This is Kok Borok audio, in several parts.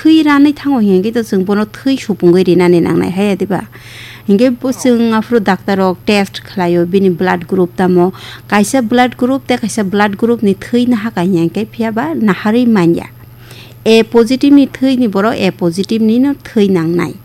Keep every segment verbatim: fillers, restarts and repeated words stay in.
Thwi ranwi thango hinkhe to chwng bono thwi supungwi rinani nangnai, haiya diba? Hinkhe bo chwng aphuru doctor rok test khlaio, bini blood group tamo, kaisa blood group tei kaisa blood group ni thwi nahaka hinkhe, phiyaba naharwi manya. A positive ni thwi ni borok A positive ni no thwi nangnai.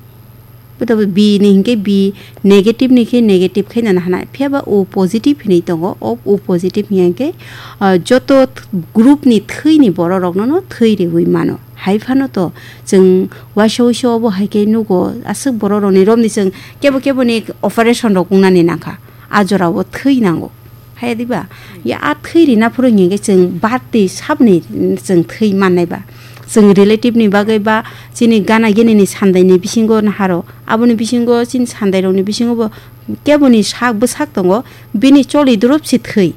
Bo to B ni hinkhe B negative ni khe negative khe nana hana. Phiyaba O positive hinwi tongo. O, O positive hinkhe, ah, joto th-, group ni thwi ni borok rokno no thwi riwi mano. Hai phano to chwng waisa waisa obo hai khe nugo aswk borok rokni romni chwng kebo kebo ni operation rok wngnani nangkha. A jora o thwi nango. Haya diba? Ya a thwi rina phuru hinkhe chwng birth tei sabni chwng thwi mannai ba. Chwng relative ni bagwi ba chini gana gini ni sandai ni bisingo naharo. Aboni bisingo chini sandai rokni bisingo bo keboni sak bwsak tongo, bini choli drop si thwi.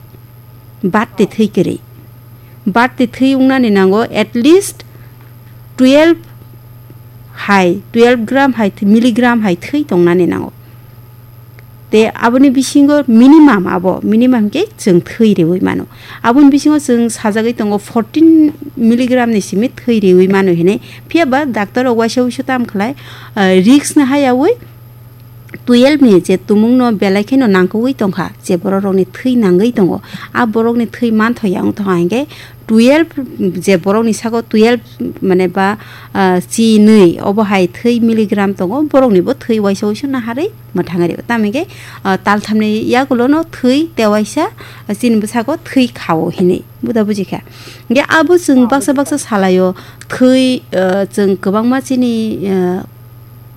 Birth tei thwi kwrwi. Birth tei thwi wngnani nango at least twelve hai, twelve gram hai, milligram hai thwi tongnani nango. Te aboni bisingo minimum abo, minimum khe chwng thwi riwi mano. Aboni bisingo chwng sajagwi tongo fourteen milligram ni simi thwi riwi mano hinwi. Phiyaba doctor rok waisa waisa tam khlai, ah, risk no hayawi twelve ni je tumung no belai kheno nangkukwi tongkha, je borok rokni thwi nangwi tongo. A borok ni thwi manthoya wngthoka hinkhe twelve, je borok ni sako twelve mane ba, ah, chi nwi obo hai thwi milligram tongo, borok ni bo thwi waisa waisa naharwi mwthangwi rio. Tamo hinkhe, ah, taltham ni yagulo no thwi tewaisa, ah, chini bwsako thwi khao hinwi buda bujikha. Hinkhe abo chwng baksa baksa salaio thwi, ah, chwng kwbangma chini, ah,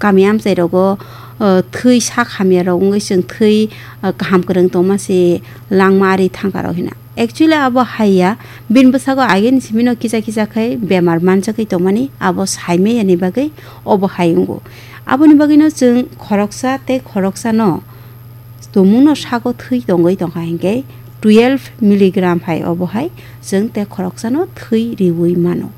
kami amchai rogo, ah, thwi sak hamya rok wngwi chwng thwi, ah, kaham kwrwng tongma se langma ari thangka rok hina. Actually abo haiya, bini bwsako agini simino kisa kisa khai bemar manjagwi tongmani abo saimaya ni bagwi obo hai wngo. Aboni bagwino chwng khoroksa tei khoroksa no tumungno sako thwi tongwi tongkha hinkhe twelve milligram hai obo hai chwng tei khoroksano thwi riwi mano.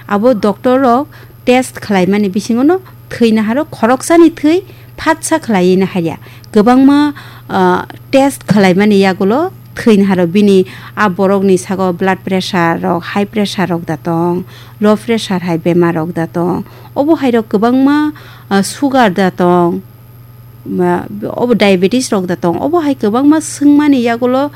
Abo doctor rok test khlaimani bisingo no thwi naharo, khoroksani thwi phatsa khlaiwi naharya. Kwbangma, ah, test khlaimani yagulo thwi naharo, bini a borokni sago blood pressure rok, high pressure rok da tong, low pressure hai bemar rok da tong, obo hai rok kwbangma, ah, sugar da tong, ma, obo diabetes rok da tong, obo hai kwbangma swngmani yagulo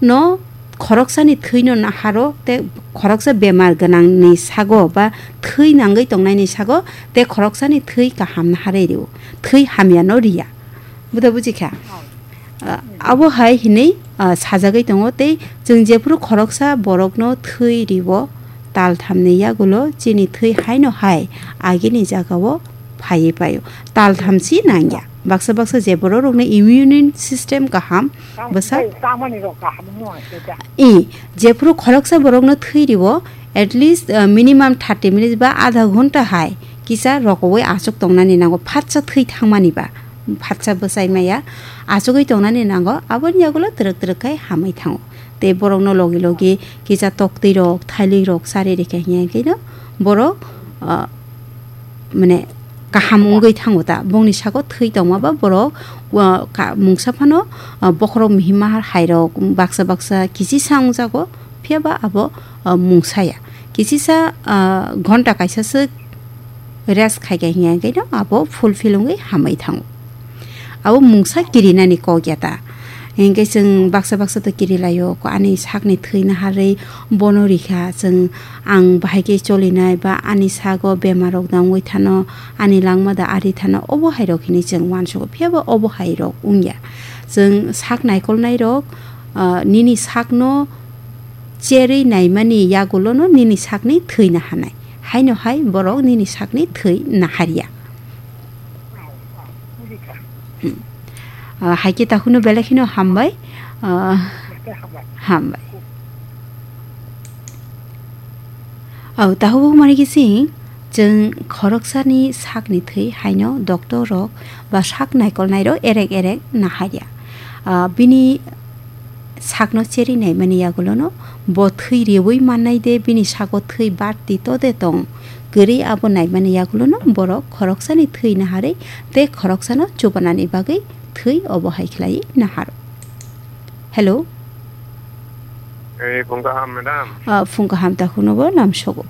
no khoroksani thwino naharo tei khoroksa bemar gwnangni sago ba thwi nangwi tongnaini sago tei khoroksani thwi kaham naharwi rio, thwi hamyano riya. Buda bujikha? Ah, abo hai hinwi, ah, sajagwi tongo tei chwng jephuru khoroksa borokno thwi riwo, talthamni yagulo chini thwi haino hai agini jagao phaiwi paio. Taltham si nangya. Baksa baksa je borok rokni immune system kaham, bwsa? Tei tamani rok kaham wngno se da. I, jephuru khoroksa borokno thwi riwo, at least, uh, minimum thirty minutes ba adha ghonta hai kisa rokowi achuk tongnani nango, phatsa thwi thangmani ba, phatsa bwsai maya achugwi tongnani nango, aboni yagulo twrwk twrwk khai hamwi thango. Tei borokno logi logi kisa toktwi rok, thailik rok chari rikha hiya khe no borok, ah, mane kaham wngwi thango ta. Bongni sako thwi tongma ba borok, ah, ka-, mungsa phano, ah, bokhorok mihima hai rok baksa baksa kichisa wngjago, phiya ba abo, ah, mungsa ya. Kichisa, ah, ghonta kaisa swk rest khai kha hiya khe no abo fulfill wngwi hamwi thango. Abo mungsa kirinani kok ya ta. Hinkhe chwng baksa baksa to kiri laio, ko ani sakni thwi naharwi bono rikha, chwng ang bahai khe cholinai ba ani sago bemar rok da wngwi thano, ani langma da ari thano, obo hai rok hinwi chwng uansugo, phiya ba obo hai rok wngya. Chwng sak naikolnai rok, ah, nini sakno cherwi naimani yagulono nini sakni thwi naharnai. Haino hai borok nini sakni thwi naharya. Hmm. Ah, hai khe takhukno belai kheno hambai. Ah, hambai. Au, takhuk mani kising chwng khoroksani sakni thwi haino doctor rok ba sak naikolnai rok erek erek naharya. Ah, bini sakno cheri naimani yagulono bo thwi riwi mannai de, bini sago thwi barti to de tong kwrwi, abo naimani yagulono borok khoroksani thwi naharwi tei khoroksano chubanani bagwi thwi obo hai khlai naharo. Hello. Eh, phung kaham, madam. Ah, phung kaham, takhukno bo lamsogo.